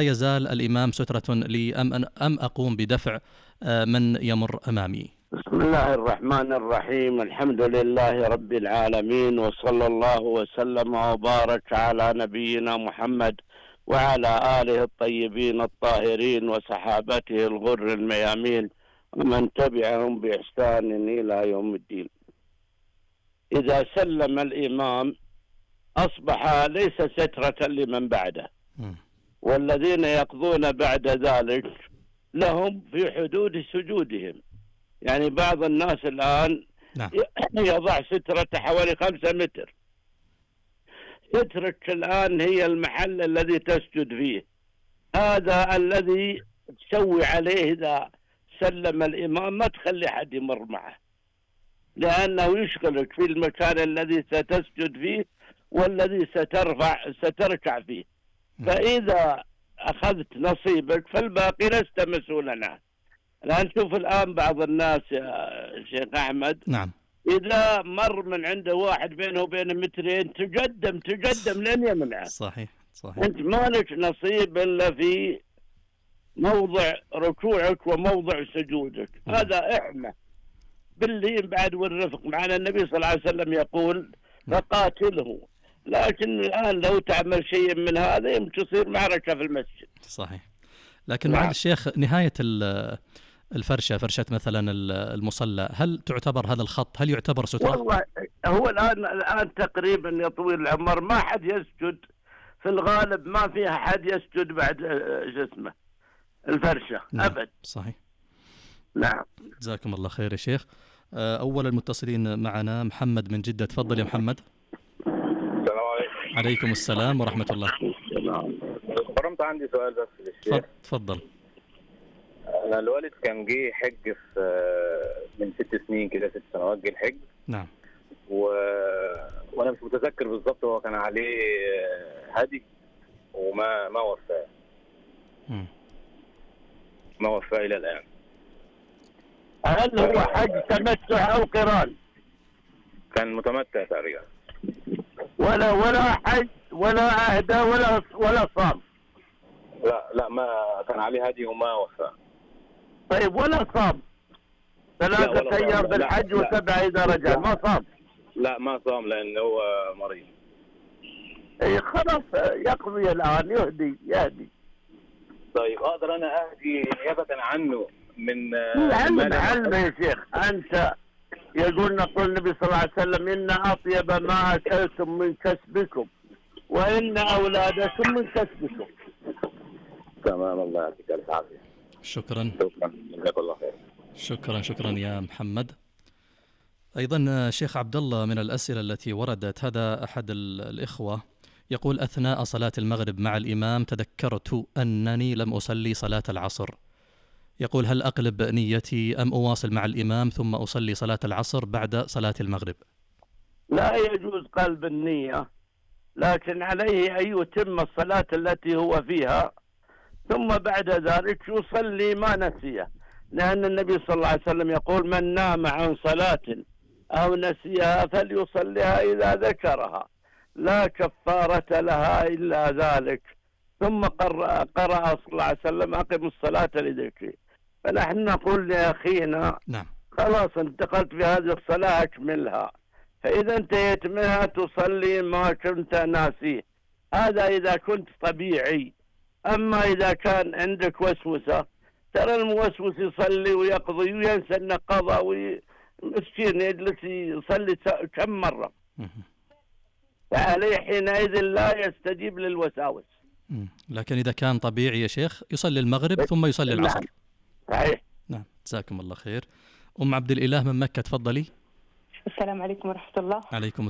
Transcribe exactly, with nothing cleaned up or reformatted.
يزال الإمام سترة لي أم, أم أقوم بدفع من يمر أمامي؟ بسم الله الرحمن الرحيم. الحمد لله رب العالمين، وصلى الله وسلم وبارك على نبينا محمد وعلى آله الطيبين الطاهرين وصحابته الغر الميامين ومن تبعهم بإحسان إلى يوم الدين. إذا سلم الإمام أصبح ليس سترة لمن بعده، والذين يقضون بعد ذلك لهم في حدود سجودهم. يعني بعض الناس الآن نعم. يضع سترة حوالي خمسة متر. سترة الآن هي المحل الذي تسجد فيه، هذا الذي تسوي عليه. إذا سلم الإمام ما تخلي حد يمر معه، لأنه يشغلك في المكان الذي ستسجد فيه والذي سترفع ستركع فيه. فإذا أخذت نصيبك فالباقي لست مسؤولا عنه. الآن شوف الآن بعض الناس يا شيخ أحمد، نعم، إذا مر من عنده واحد بينه وبينه مترين تقدم تقدم لين يمنعه. صحيح صحيح. أنت ما لك نصيب إلا في موضع ركوعك وموضع سجودك. م. هذا إحنا باللين بعد والرفق معنا. النبي صلى الله عليه وسلم يقول فقاتله. لكن الآن لو تعمل شيء من هذا يمكن تصير معركة في المسجد. صحيح. لكن معالي الشيخ، نهاية الفرشة، فرشة مثلا المصلى، هل تعتبر هذا الخط هل يعتبر سترة؟ والله هو الآن الآن تقريبا يا طويل العمر ما حد يسجد في الغالب، ما فيها حد يسجد بعد جسمه الفرشة. نعم. أبد. صحيح. نعم. جزاكم الله خير يا شيخ. أول المتصلين معنا محمد من جدة. تفضل يا محمد. السلام عليكم. عليكم السلام ورحمة الله. برمت عندي سؤال بس للشيخ. تفضل. أنا الوالد كان جه حج في من ست سنين كده، ست سنوات جه الحج. نعم. و... وأنا مش متذكر بالظبط، هو كان عليه هدي وما ما وفاه. ما وفاه إلى الآن. هل هو حج تمتع أو قران؟ كان متمتع تقريبا. ولا ولا حج ولا أهدى ولا ولا صام؟ لا لا، ما كان عليه هدي وما وفاه. طيب ولا صام ثلاثة أيام بالحج وسبعة إذا رجع؟ ما صام؟ لا ما صام لأنه هو مريض. إيه خلاص يقضي الآن، يهدي يهدي. طيب أقدر أنا أهدي نيابة عنه من علم علم يا شيخ أنت. يقول نقول النبي صلى الله عليه وسلم إن أطيب ما أكلتم من كسبكم وإن أولادكم من كسبكم. تمام، الله يعطيك الف عافية. شكرا. شكرا جزاك الله خير. شكرا شكرا يا محمد. أيضا شيخ عبد الله، من الأسئلة التي وردت، هذا أحد الإخوة يقول: أثناء صلاة المغرب مع الإمام تذكرت أنني لم أصلي صلاة العصر. يقول: هل أقلب نيتي أم أواصل مع الإمام ثم أصلي صلاة العصر بعد صلاة المغرب؟ لا يجوز قلب النية، لكن عليه أن يتم الصلاة التي هو فيها ثم بعد ذلك يصلي ما نسيه، لأن النبي صلى الله عليه وسلم يقول: من نام عن صلاة أو نسيها فليصليها إذا ذكرها، لا كفارة لها إلا ذلك. ثم قرأ, قرأ صلى الله عليه وسلم: أقم الصلاة لذكري. فنحن نقول لأخينا: نعم، خلاص انتقلت في هذه الصلاة أكملها، فإذا انتهيت منها تصلي ما كنت ناسيه. هذا إذا كنت طبيعي. أما إذا كان عندك وسوسة، ترى الموسوس يصلي ويقضي وينسى أنه قضى، ومسكين يجلس يصلي كم مرة، فعليه حينئذ لا يستجيب للوساوس. لكن إذا كان طبيعي يا شيخ يصلي المغرب ثم يصلي العصر. صحيح. نعم، جزاكم الله خير. أم عبد الإله من مكة، تفضلي. السلام عليكم ورحمة الله. عليكم